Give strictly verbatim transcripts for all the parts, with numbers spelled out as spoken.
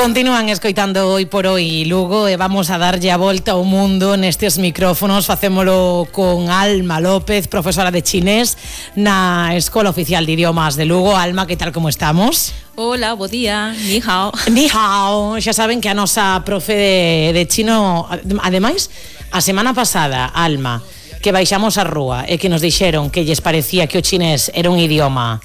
Continúan escoitando Hoy por Hoy Lugo e vamos a darlle a volta ao mundo nestes micrófonos. Facémolo con Alma López, profesora de chinés na Escola Oficial de Idiomas de Lugo. Alma, que tal, como estamos? Hola, bo día, ni hao. Ni hao. Xa saben que a nosa profe de, de chino, ademais, a semana pasada, Alma, que baixamos a rúa e que nos dixeron que lles parecía que o chinés era un idioma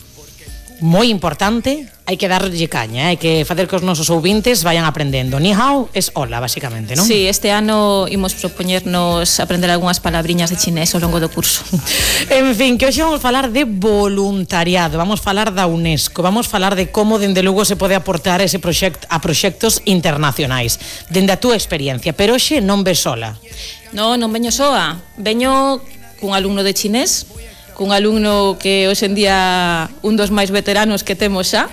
moi importante, hai que darlle caña, hai que facer que os nosos ouvintes vayan aprendendo. Ni hao es hola, basicamente, non? Sí, este ano imos propoñernos aprender algunhas palabriñas de chinés ao longo do curso. En fin, que hoxe vamos falar de voluntariado, vamos falar da UNESCO, vamos falar de como dende Lugo se pode aportar ese proxecto a proxectos internacionais, dende a túa experiencia, pero hoxe non ves sola. No, non veño soa, veño cun alumno de chinés, cun alumno que hoxe en día un dos máis veteranos que temos xa,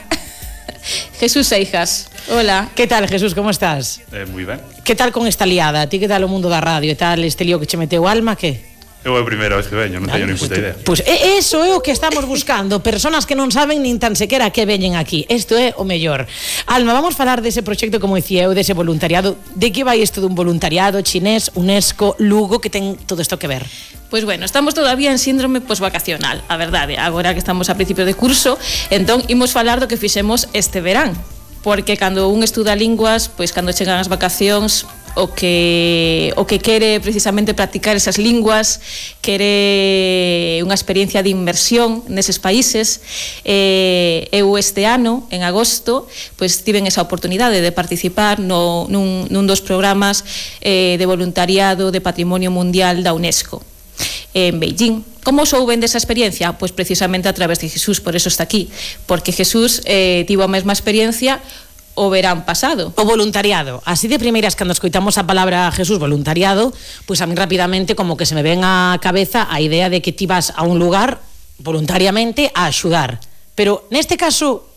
Jesús Seijas. Hola. Que tal, Jesús, como estás? Eh, moi ben. Que tal con esta liada? A ti que tal o mundo da radio e tal este lío que che meteu, Alma, que? Eu é a primeira vez que veño, non teño ni puta idea. Pois pues, eso é o que estamos buscando, personas que non saben nin tan sequera que veñen aquí. Isto é o mellor. Alma, vamos falar dese proxecto, como dicía eu, dese voluntariado. De que vai isto dun voluntariado chinés, UNESCO, Lugo, que ten todo isto que ver? Pois bueno, estamos todavía en síndrome posvacacional, a verdade, agora que estamos a principio de curso, entón imos falar do que fixemos este verán, porque cando un estuda linguas, pois cando chegan as vacacións, o que o que quere precisamente practicar esas linguas, quere unha experiencia de inmersión neses países. Eh, eu este ano, en agosto, pois tiven esa oportunidade de participar no, nun, nun dos programas eh, de voluntariado de Patrimonio Mundial da UNESCO en Beijing. Como souben desa experiencia? Pois precisamente a través de Jesús, por eso está aquí, porque Jesús eh, tivo a mesma experiencia o verán pasado. O voluntariado. Así de primeiras, cando escoitamos a palabra Jesús, voluntariado, pois a mí rapidamente como que se me ven á cabeza a idea de que ti vas a un lugar voluntariamente a axudar. Pero neste caso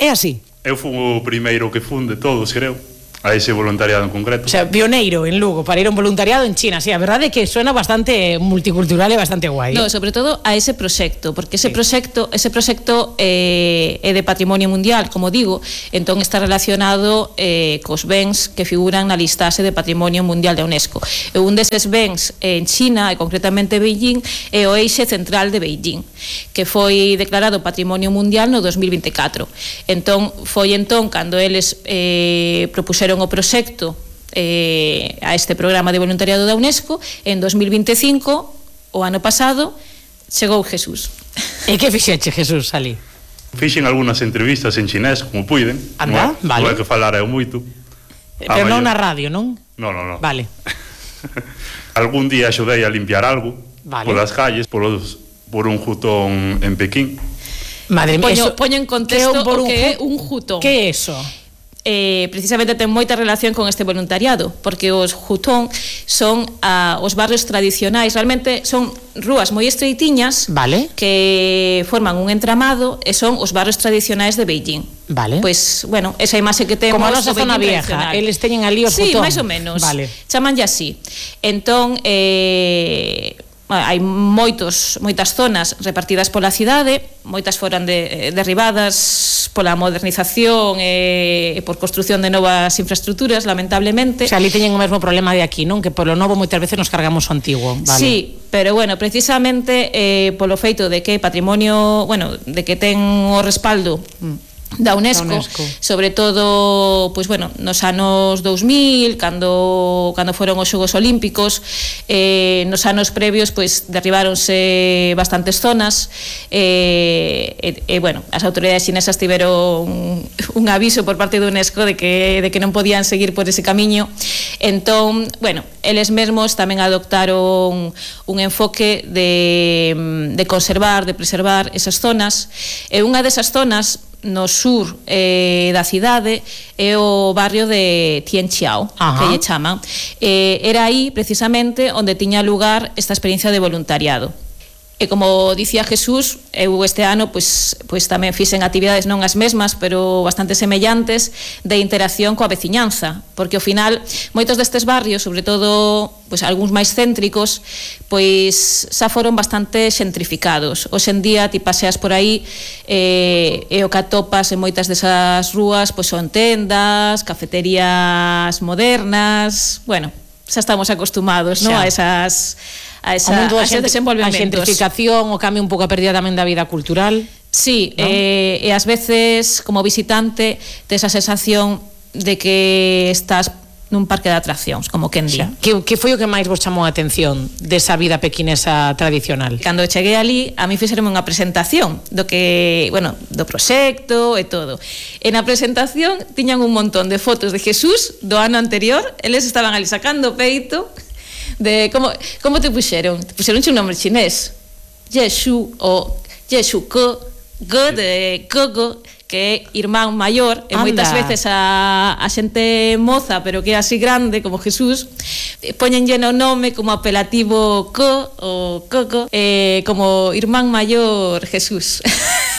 é así. Eu fui o primeiro que fun de todos, creo, a ese voluntariado en concreto. O sea, pioneiro en Lugo para ir a un voluntariado en China. Sí, a verdade é que suena bastante multicultural e bastante guai. No, sobre todo a ese proxecto, porque ese sí. proxecto, ese proxecto eh, é de Patrimonio Mundial, como digo, entón está relacionado eh, cos bens que figuran na listaxe de Patrimonio Mundial da UNESCO. E un deses bens en China, e concretamente Beijing, é o eixe central de Beijing, que foi declarado Patrimonio Mundial no dos mil vinte e catro. Entón, foi entón cando eles eh, propuxeron o proxecto eh, a este programa de voluntariado da UNESCO. En dos mil vinte e cinco, o ano pasado, chegou Jesús. E que fixeche, Jesús, ali? Fixen algunhas entrevistas en chinés, como puiden. Anda, non, vale. Non é que falara eu moito. Pero non na radio, non? Non, non, non. Vale. Algún día axudei a limpiar algo, vale, polas calles, polos, por un jutón en Pequín. Madre mía, poño, poño en contexto que o que é un jutón. Que é eso? Eh, precisamente ten moita relación con este voluntariado, porque os jutón son ah, os barrios tradicionais, realmente son rúas moi estreitiñas, vale, que forman un entramado e son os barrios tradicionais de Beijing. Vale. Pois, bueno, esa imaxe que temos como a nosa zona vieja, eles teñen ali os sí, jutón. Sí, máis ou menos. Vale. Chamanlle así. Entón, eh hai moitos, moitas zonas repartidas pola cidade, moitas foran de, derribadas pola modernización e, e por construción de novas infraestructuras, lamentablemente. O sea, ali teñen o mesmo problema de aquí, non? Que polo novo moitas veces nos cargamos o antigo. Vale. Sí, pero bueno, precisamente eh, polo feito de que patrimonio, bueno, de que ten o respaldo da UNESCO, da UNESCO, sobre todo, pois bueno, nos anos dous mil, cando cando foron os Xogos Olímpicos, eh, nos anos previos, pois derribáronse bastantes zonas, eh, e, e bueno, as autoridades chinesas tiveron un, un aviso por parte do UNESCO de que de que non podían seguir por ese camiño. Entón, bueno, eles mesmos tamén adoptaron un enfoque de, de conservar, de preservar esas zonas, e unha desas zonas no sur eh, da cidade é o barrio de Tianqiao, Ajá. que lle chaman. Eh, era aí precisamente onde tiña lugar esta experiencia de voluntariado. E como dicía Jesús, eu este ano pois, pois tamén fixen actividades non as mesmas, pero bastante semellantes de interacción coa veciñanza, porque ao final moitos destes barrios, sobre todo pois algúns máis céntricos, pois xa foron bastante xentrificados. Hoxe en día ti paseas por aí e, e o que atopas en moitas desas rúas pois son tendas, cafeterías modernas, bueno, xa estamos acostumados, non, a esas a, esa, a eses desenvolvementos. A xentrificación, o cambio un pouco a pérdida tamén da vida cultural. Sí, ¿no? eh, e ás veces como visitante tes a sensación de que estás nun parque de atraccións, como quen di. Que, que foi o que máis vos chamou a atención desa vida pequinesa tradicional? Cando cheguei ali, a mí fixeronme unha presentación do que, bueno, do proxecto e todo. E na presentación tiñan un montón de fotos de Jesús do ano anterior, eles estaban ali sacando peito de como como te puxeron? Te puxeron un nome chinés. Yeshu o Yeshu Ko, Go de Gogo, que é irmán maior, e moitas veces a, a xente moza, pero que é así grande como Jesús, poñenlle no nome como apelativo Co o Coco, eh, como irmán maior Jesús.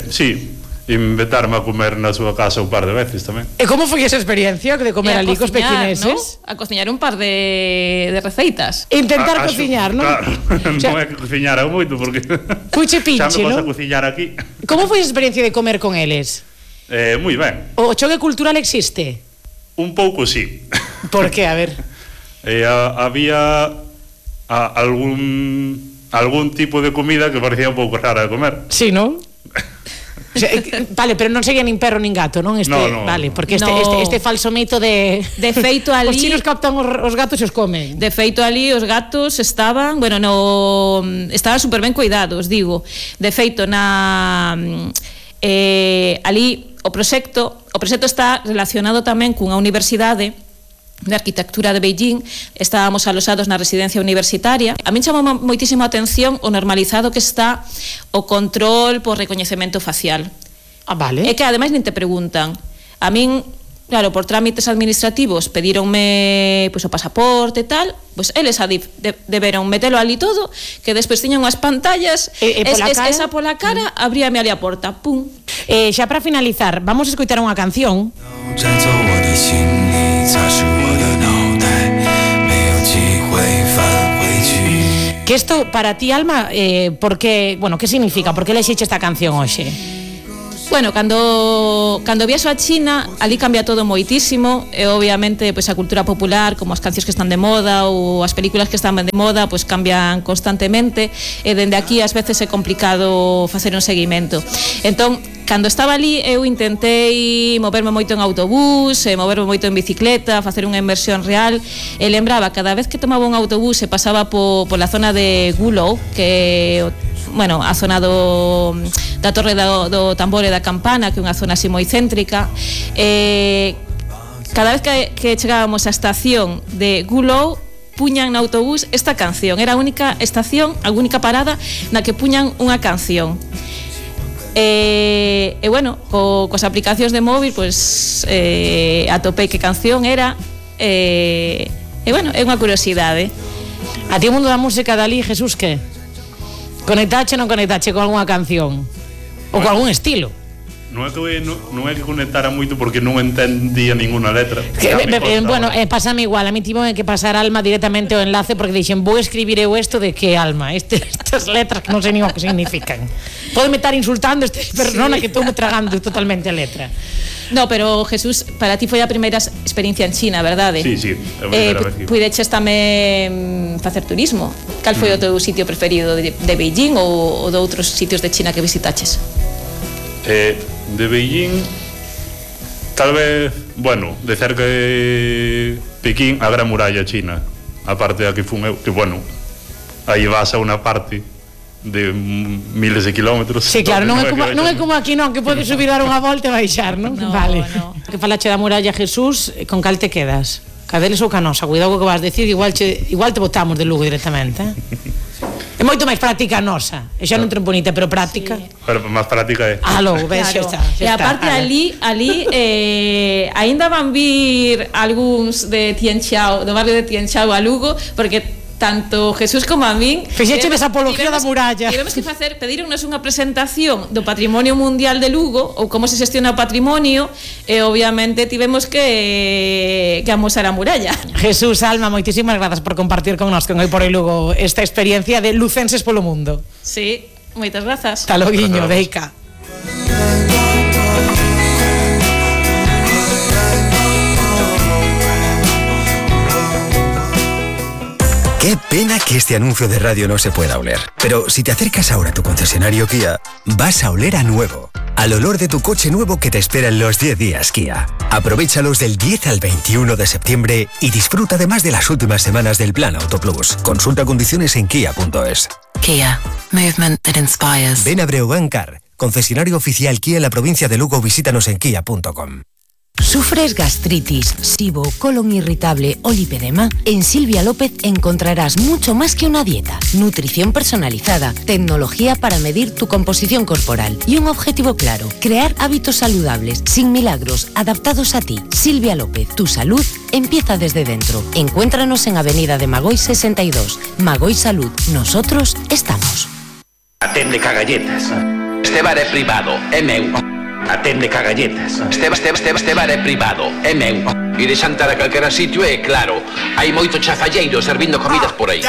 Sí, invitarme a comer na súa casa un par de veces tamén. E como foi esa experiencia de comer ali cos pequineses? ¿No? A cociñar un par de, de receitas. Intentar a, a cociñar, non? Claro, O sea, non é que cociñara moito porque Puche pinche, xa me non? pasa cociñar aquí. Como foi a experiencia de comer con eles? Eh, moi ben. O choque cultural existe? Un pouco sí. Por que? A ver. Eh, a, había a, algún algún tipo de comida que parecía un pouco rara de comer. Sí, non? O sea, vale, pero non sería nin perro nin gato, non? Este, no, no, vale, porque este, no. este, este falso mito de de feito ali os chinos captan os, os gatos e os comen. De feito ali os gatos estaban, bueno, no estaban super ben cuidados, digo. De feito na eh, ali o proxecto, o proxecto está relacionado tamén cunha universidade de arquitectura de Beijing. Estábamos alosados na residencia universitaria. A min chamou moitísimo a atención o normalizado que está o control por recoñecemento facial. Ah, vale. É que ademais nin te preguntan. A min, claro, por trámites administrativos pedíronme pois, o pasaporte e tal, pois eles a dif, de, deberon metelo ali todo, que despois tiñan unhas pantallas, e, e pola es, cara? esa pola cara, abríame ali a porta, pum. Eh, xa para finalizar, vamos a escoitar unha canción. Que isto para ti, Alma, eh, porque, bueno, que significa? Por que lexiche esta canción hoxe? Bueno, cando cando viaxo a China, ali cambia todo moitísimo, e obviamente pois a cultura popular, como as cancións que están de moda ou as películas que están de moda, pois cambian constantemente, e dende aquí ás veces é complicado facer un seguimento. Entón, cando estaba ali, eu intentei moverme moito en autobús, e moverme moito en bicicleta, facer unha inversión real, e lembraba cada vez que tomaba un autobús e pasaba po, pola zona de Gulou, que bueno, a zona do, da Torre do, do Tambor e da Campana, que é unha zona así moi céntrica, e cada vez que, que chegábamos á estación de Gulou, puñan no autobús esta canción. Era a única estación, a única parada na que puñan unha canción. E, e bueno, co, coas aplicacións de móvil, pois eh, atopei que canción era, e, e bueno, é unha curiosidade. A ti o mundo da música dali, Jesús, que? Conectache ou non conectache con algunha canción? Ou con algún estilo? Non é que non, non é que conectara moito porque non entendía ninguna letra. Que, me, me, bueno, eh, pásame igual, a mí tivo que pasar Alma directamente o enlace porque dixen, vou escribir eu isto de que Alma, este, estas letras que non sei nin o que significan. Pódeme estar insultando este persona sí. Que estou me tragando totalmente a letra. No, pero Jesús, para ti foi a primeira experiencia en China, verdade? Sí, sí, é a primeira vez que... Puideches tamén facer turismo. Cal foi mm. o teu sitio preferido de, de Beijing ou, ou de outros sitios de China que visitaches? Eh, de Beijing, tal vez, bueno, de cerca de Pekín, a Gran Muralla China, a parte da que fun eu, que bueno, aí vas a unha parte de miles de kilómetros. Sí, claro, non é como, non é como aquí, non, que podes subir, dar unha volta e baixar, non? No, vale. No. Que falache da muralla, Jesús, con cal te quedas? Cadeles ou Canosa? Cuidado co que vas decir, igual, che, igual te botamos de Lugo directamente, eh? É moito máis práctica a nosa. E xa non ten bonita, pero práctica. Sí. Pero máis práctica é. Ah, logo, ves, claro. xa está. Xa e aparte está, ali, ali eh, aínda van vir algúns de Tianxiao, do barrio de Tianxiao a Lugo, porque tanto Jesús como a min fixeche esa apología da muralla. Tivemos que facer, pedironnos unha presentación do Patrimonio Mundial de Lugo ou como se xestiona o patrimonio e obviamente tivemos que que amosar a muralla. Jesús, Alma, moitísimas grazas por compartir con nós con Hoy por Hoy Lugo esta experiencia de lucenses polo mundo. Sí, moitas grazas. Hasta loguiño, Deica. Qué pena que este anuncio de radio no se pueda oler. Pero si te acercas ahora a tu concesionario Kia, vas a oler a nuevo. Al olor de tu coche nuevo que te espera en los diez días Kia. Aprovéchalos del diez al veintiuno de septiembre y disfruta además de las últimas semanas del Plan Auto Plus. Consulta condiciones en kia punto es. Kia. Movement that inspires. Ven a Breogán Car, concesionario oficial Kia en la provincia de Lugo. Visítanos en kia punto com. ¿Sufres gastritis, SIBO, colon irritable o lipedema? En Silvia López encontrarás mucho más que una dieta, nutrición personalizada, tecnología para medir tu composición corporal y un objetivo claro, crear hábitos saludables, sin milagros, adaptados a ti. Silvia López, tu salud empieza desde dentro. Encuéntranos en Avenida de Magoy sesenta y dos. Magoy Salud, nosotros estamos. Atende cagalletas. Este bar é privado, é meu. Atende cagalletas. Este, este, este, este bar é privado, é meu. E de xantar a calquera sitio é claro. Hai moito chafalleiro servindo comidas por aí.